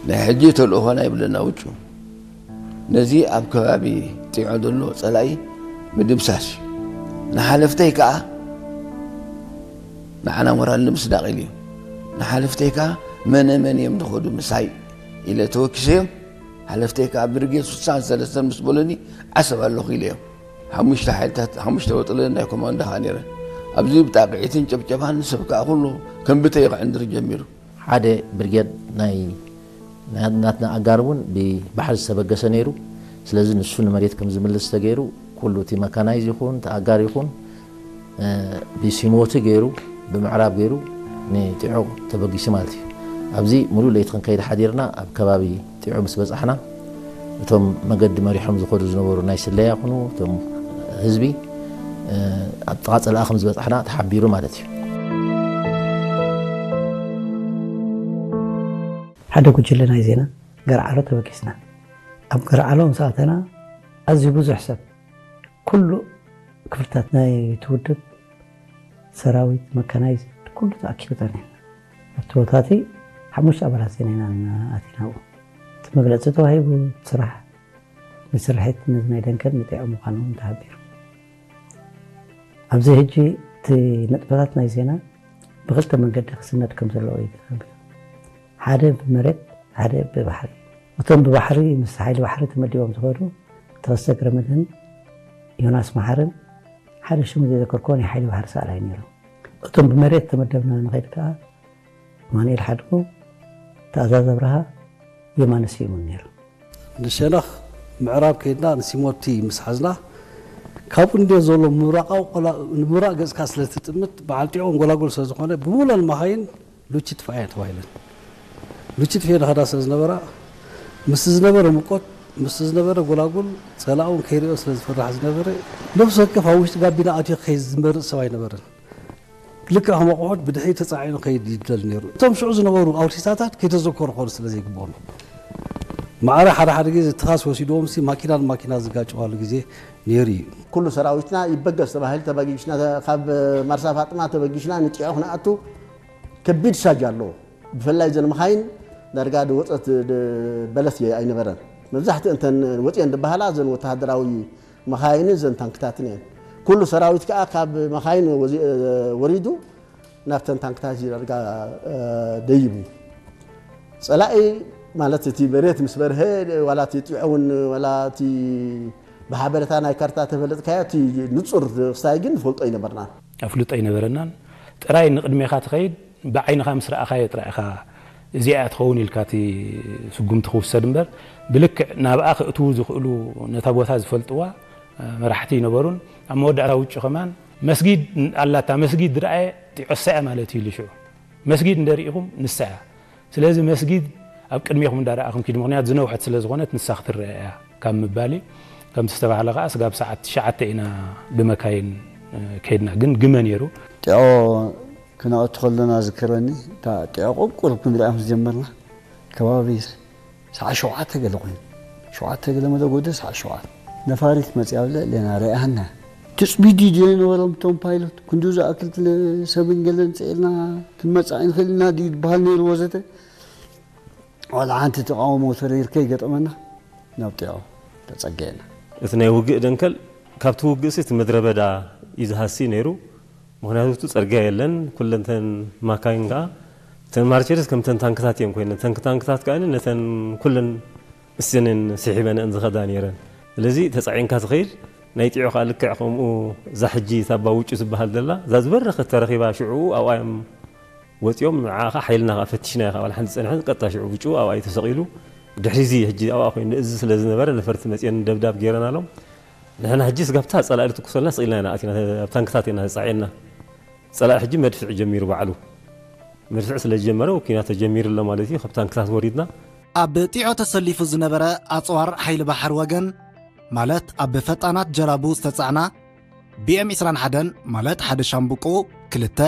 ናይ ሕጂ ተልእኾና ይብለና ውጩ፣ ነዚ ኣብ ከባቢ ጢዖ ዘሎ ጸላኢ ምድምሳስ እዩ። ንሓለፍተይ ከኣ ንዓና ሞራል ንምስዳቕ ኢሉ እዩ። ንሓለፍተይ ከኣ መነ መን እዮም ዝኸዱ ምሳይ ኢለ ተወኪሰዮም። ሓለፍተይ ከኣ ብርጌድ ስሳን ሰለስተን ምስ በሉኒ ዓሰብ ኣለኹ ኢለዮም። ሓሙሽተ ሓይልታት፣ ሓሙሽተ ወጥለ ናይ ኮማንዶ ከኣ ነይረን። ኣብዚ ብጣቕዒትን ጨብጨባን ሰብ ከኣ ኩሉ ከም ብተይ ክዕንድር ጀሚሩ። ሓደ ብርጌድ ናይ ናትና ኣጋር እውን ብባሕሪ ዝተበገሰ ነይሩ። ስለዚ ንሱ ንመሬት ከም ዝምልስ ተገይሩ ኩሉ እቲ መካናይዝ ይኹን እቲ ኣጋር ይኹን ብሲሞቲ ገይሩ ብምዕራብ ገይሩ ንጢዖ ተበጊሱ ማለት እዩ። ኣብዚ ሙሉእ ለይቲ ክንከይድ ሓዲርና ኣብ ከባቢ ጢዖ ምስ በጻሕና እቶም መገዲ መሪሖም ዝኸዱ ዝነበሩ ናይ ስለያ ይኹኑ እቶም ህዝቢ ኣብ ጥቓ ጸላኢ ከም ዝበጻሕና ተሓቢሩ ማለት እዩ። ሓደ ጉጅለ ናይ ዜና ገርዓሎ ተበጊስና። ኣብ ገርዓሎ ምስ ኣተና ኣዝዩ ብዙሕ ሰብ ኩሉ ክፍልታት ናይ ትውድብ ሰራዊት መካናይዝ ኩሉ ተኣኪቡ ጸኒሕና ኣብቲ ቦታ እቲ ሓሙሽተ ኣባላት ዜና ኢና ኣቲና ኣብኡ እቲ መግለፂ ተዋሂቡ ስራሕ ንስርሒት ነዚ ናይ ደንከል ንጥዑ ምዃኑ እውን ተሃቢሩ ኣብዚ ሕጂ እቲ ነጥበታት ናይ ዜና ብክልተ መንገዲ ክስነድ ከም ዘለዎ እዩ ተሃቢሩ ሓደ ብመሬት ሓደ ብባሕሪ እቶም ብባሕሪ ምስ ሓይሊ ባሕሪ ተመዲቦም ዝኸዱ ተኸስተ ግረመድህን ዮናስ መሓርን ሓደ ሽሙ ዘይዘከርክዎ ናይ ሓይሊ ባሕሪ ሰኣላይ ነይሮም። እቶም ብመሬት ተመደብና ንኸይድ ከኣ ኣማኑኤል ሓድጉ፣ ትእዛዝ ኣብርሃ፣ የማነ ስዩምን ነይሮም። ንሸነኽ ምዕራብ ከይድና ንሲሞቲ ምስ ሓዝና ካብኡ እንድዮ ዘሎ ምብራቓዊ ቆላ- ንምብራቕ ገጽካ ስለ ትጥምት በዓል ጢዖ ጎላጉል ስለ ዝኾነ ብምሉኣን መኻይን ሉቺ ጥፍኣ እየን ተባሂለን። ሉቺ ጥፍኤ ንኸዳ ስለ ዝነበራ ምስቲ ዝነበረ ሙቆት ምስቲ ዝነበረ ጎላጉል ጸላኢ እውን ከይርእዮ ስለ ዝፈርሕ ዝነበረ ነፍሲ ወከፍ ኣብ ውሽጢ ጋቢና ኣትዩ ክኸይድ ዝመርጽ ሰብ ኣይነበረን። ልክዕ ከም ኣቑሑት ብድሕሪት ተጻዒኑ ክኸይድ ይደሊ ነይሩ። እቶም ሽዑ ዝነበሩ ኣውቲስታታት ከይተዘከሩ ክኾኑ ስለ ዘይግብኦም እዩ። ማዕረ ሓደ ሓደ ግዜ ትኻስ ወሲድዎም ሲ ማኪና ንማኪና ዝጋጨዋሉ ግዜ ነይሩ እዩ። ኩሉ ሰራዊትና ይበገስ ተባሂሉ ተበጊስና ካብ ማርሳ ፋጥማ ተበጊስና ንጢዖ ክንኣቱ ከቢድ ሳጅ ኣለዎ። ብፍላይ ዘን መኻይን ዳርጋ ድወፀት በለስ ኣይነበረን። መብዛሕትኡ እንተን ወፅየን ዝበሃላ ዘን ወተሃደራዊ መኻይንን ዘን ታንክታትን እየን። ኩሉ ሰራዊት ከዓ ካብ መኻይን ወሪዱ ናብተን ታንክታት ዳርጋ ደይቡ። ፀላኢ ማለት እቲ መሬት ምስ በርሀ ዋላ እቲ ጢዖ እውን ዋላ እቲ ብሓበሬታ ናይ ካርታ ተፈለጥካዮ እቲ ንፁር ክስታይ ግን ንፈልጦ ኣይነበርናን። ኣፍልጦ ኣይነበረናን። ጥራይ ንቕድሜኻ ትኸይድ ብዓይንኻ ምስ ረኣኻዮ ጥራይ ኢኻ እዚኣ እያ ትኸውን ኢልካ እቲ ስጉምቲ ክውሰድ እምበር ብልክዕ ናብኣ ከእትዉ ዝኽእሉ ነታ ቦታ ዝፈልጥዋ መራሕቲ ኣይነበሩን። ኣብ መወዳእታ ውጩ ከማን መስጊድ ኣላታ መስጊድ ዝረኣየ ጢዖሳ እያ ማለት እዩ ኢሉ ሽዑ መስጊድ እንደ ርኢኹም ንሳ እያ። ስለዚ መስጊድ ኣብ ቅድሜኹም እንዳረኣኹም ኪዱ፣ ምኽንያቱ ዝነውሐት ስለ ዝኾነት ንሳ ክትረአ እያ ካብ ምባል እዩ። ከምቲ ዝተባህለ ከኣ ስጋብ ሰዓት ትሽዓተ ኢና ብመካይን ከይድና፣ ግን ግመ ነይሩ። ጢዖ ክነእቱ ከለና ዝክረኒ፣ እታ ጢዖ ቁልቁል ክንሪኣ ምስ ጀመርና ከባቢ ሰዓት ሸውዓተ ገለ ኮይኑ፣ ሸውዓተ ገለ መደጎደ ሰዓት ሸውዓተ ነፋሪት መፂኣ ኣብ ልዕሌና ርኣሃና። ትፅቢት ድዩ ዝነበሮም እቶም ፓይሎት? ክንድኡ ዝኣክል ሰብን ገለን ፅዒርና ክንመፅእ ኣይንኽእል ኢና ድዩ ዝበሃል ነይሩ ወዘተ። ዋላ ሓንቲ ተቓውሞ ተሪር ከይገጠመና ናብ ጢዖ ተፀጊዕና። እቲ ናይ ውግእ ደንከል ካብቲ ውግእሲ እቲ ምድረ በዳ እዩ ዝሃሲ ነይሩ። ምኽንያቱ እቲ ፅርግያ የለን። ኩለን እተን ማካይን ከዓ እተን ማርቸሪስ ከምተን ታንክታት እየን ኮይነን። እተን ታንክታት ከዓ ነተን ኩለን እሰነን ስሒበንአን ዝኸዳ ነይረን። ስለዚ ተፃዒንካ ትኸይድ ናይ ጢዖ ከዓ ልክዕ ከምኡ እዛ ሕጂ እታ ኣባ ውጩ ዝበሃል ዘላ እዛ ዝበረኸት ተረኺባ ሽዑ ኣብኣ እዮም ወፂኦም። ንዓ ከዓ ሓይልና ከዓ ፈቲሽናዮ ከዓ ዋላ ሓንቲ ፀንሐን ቀጥታ ሽዑ ውጩ ኣብኣ እዩ ተሰቒሉ። ድሕሪ እዚ ሕጂ ኣብኣ ኮይኑ እዚ ስለ ዝነበረ ነፈርቲ መፂአን ደብዳብ ገይረናሎም። ንሕና ሕጂ ስጋብ እታ ፀላኢ ዝትኩሰልና ስቕ ኢልና ኢና ኣቲና ኣብ ታንክታት ኢና ተፃዒንና። ፀላኢ ሕጂ መድፍዕ ጀሚሩ ባዕሉ። መድፍዕ ስለ ዝጀመረ ኲናት ተጀሚሩ ኣሎ ማለት እዩ። ካብ ታንክታት ወሪድና። ኣብ ጢዖ ተሰሊፉ ዝነበረ ኣፅዋር ሓይሊ ባሕሪ ወገን ማለት ኣብ ፈጣናት ጀላቡ ዝተፃዕና ቢኤም ዕስራን ሓደን ማለት ሓደ ሻምብቆ፣ ክልተ